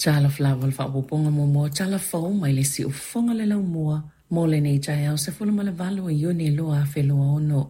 Talofa lava i le faaopoopoga muamua o tala fou mai le siufofoga o le laumua mo lenei taeao 18 o Iuni 2026.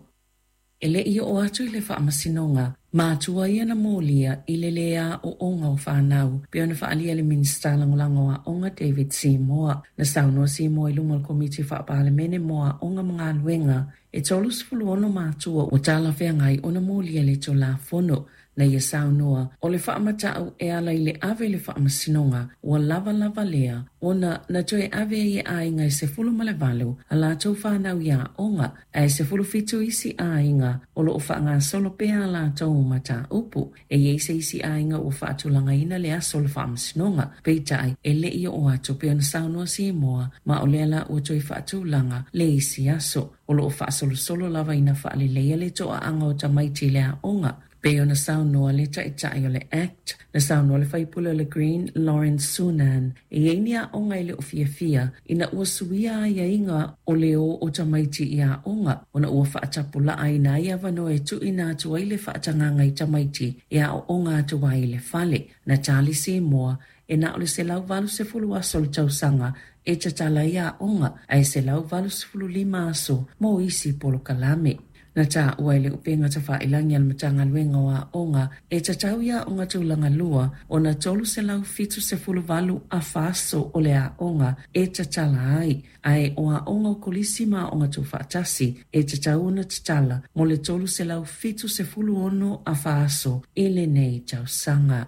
E le i oo atu i le faamasinoga, matua ia na molia i le lē aoaoga o fanau, pei ona faaalia e le Minisita Lagolago o Aoga David Seymour. Na saunoa Seymour i luma o le Komiti Faa-Palemene mo Aoga ma Galuega, e 36 matua ua talafeagai ona molia i le Tulafono. Na ia saunoa, o le faamata'u e ala i le ave i le faamasinoga ua lava lava lea ona na toe ave ai e aiga e 18 a latou fanau i aoga, ae 17 isi aiga o lo o faagasolo pea a latou mataupu. E i ai se isi aiga ua faatulagaina le aso o le faamasinoga, peitai e le i oo atu pei ona saunoa Seymour, ma o lea la ua toe faatulaga le isi aso. O lo o faasolosolo lava ina faaleleia le toaaga o tamaiti i le aoga, pei ona saunoa le taitai o le ACT. Na saunoa le faipule o le Green Lawrence Sunan, e i ai ni aoga e le o fiafia ina ua suia aiaiga o le o o tamaiti i aoga, ona ua faatapulaaina ai avanoa e tuuina atu ai le faatagaga i tamaiti e aooga atu ai i le fale. Na tali Seymour, e na o le 180 aso o le tausaga e tatala ai aoga, ae 185 aso mo isi polokalame. Na taua e le upega tafailagi a le Matagaluega o Aoga e tatau i aoga tulaga lua ona 378 afa aso o le aoga e tatala ai, ae o aoga o kolisi ma aoga tuufaatasi e tatau ona tatala mo le 376 afa aso i lenei tausaga.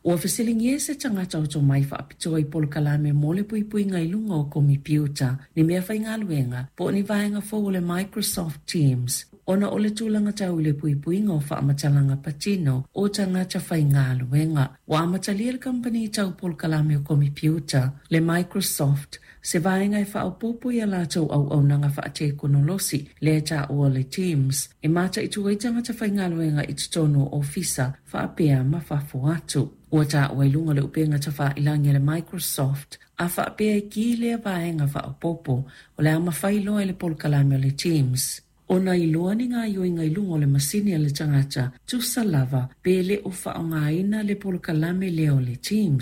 Ua fesiligia e se tagata o tomai faapitoa i polokalame mo le puipuiga i luga o komipiuta, ni meafaigaluega po o ni vaega fou o le Microsoft Teams, ona o le tulaga tau i le puipuiga o faamatalaga patino o tagata faigaluega. Ua amatalia e le kamupani tau polokalame o komipiuta, le Microsoft, se vaega e faaopoopo i a latou auaunaga faatekonolosi, lea e taua o le Teams, e mataitu ai tagata faigaluega i totonu o ofisa faapea ma fafo atu. Ua taua i luga o le upega tafailagi a le Microsoft, a faapea e ki lea vaega faaopoopo, o le a mafai loa e le polokalame o le Teams ona iloa ni gaoioiga i luga o le masini a le tagata, tusa lava pe le o faaaogaina le polokalame lea o le Teams.